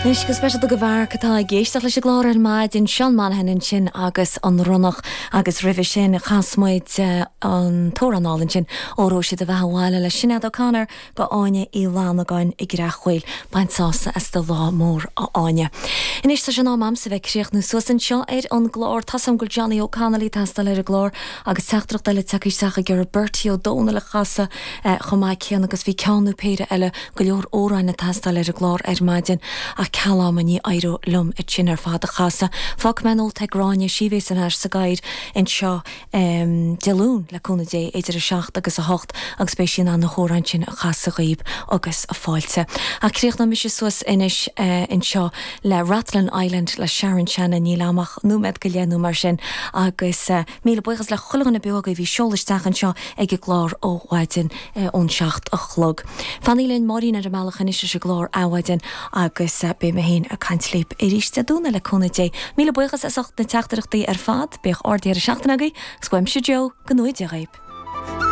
Anois go speisialta do Mharc atá ag éisteacht leis an gclár ar maidin, Seán Monaghan ansin agus An Ronnach agus roimhe sin chas muid an t-amhrán álainn sin Óró Sé do Bheatha 'Bhaile le Sinéad O'Connor go Áine Uí Fhlannagáin i gCreach Dhuibhil. Bain sásamh as do lá mór a Áine. Anois tá sé in am a'msa bheith ag críochnú suas anseo ar an gclár. Tá's a'm go bhfuil Johnny O'Connelly ag teastáil ar an gclár agus teachtaireacht eile tagtha isteach ag iarraidh Bertie Ó Dónaill a chasadh chomh maith céanna agus bhí ceann nó péire eile go leor amhráin ag teastáil ar an gclár ar maidin ach ceal ama ní éireoidh liom iad sin ar fad a chasadh. Fágfaidh mé nóta ag Gráinne, sí a bhéas ar ais sa gcathaoir anseo Dé Luain le cúnamh Dé idir 7 agus 8 agus beidh sí in ann na hamhráin sin a chasadh dhaoib agus fáilte. Ach críochnóidh mise suas anois anseo le Rathlin Island le Sharon Shannon, níl a'm ach nóiméad go leith nó mar sin agus. Míle buíochas le chuile dhuine beo agaibh a bhí ag seoladh isteach anseo ag an gclár ó mhaidin ón 7 a chlog. Fanaigí linn, Máirín ar an mbealach anois leis an gclár Adhmhaidin agus beidh mé féin ag caint libh arís Dé Domhnaigh le cúnamh Dé. Míle buíochas as ucht na teachtaireachtaí ar fad, bíodh ard-dheireadh seachtaine agaibh agus uaimse Joe, go ngnóthaí Dia dhaoib.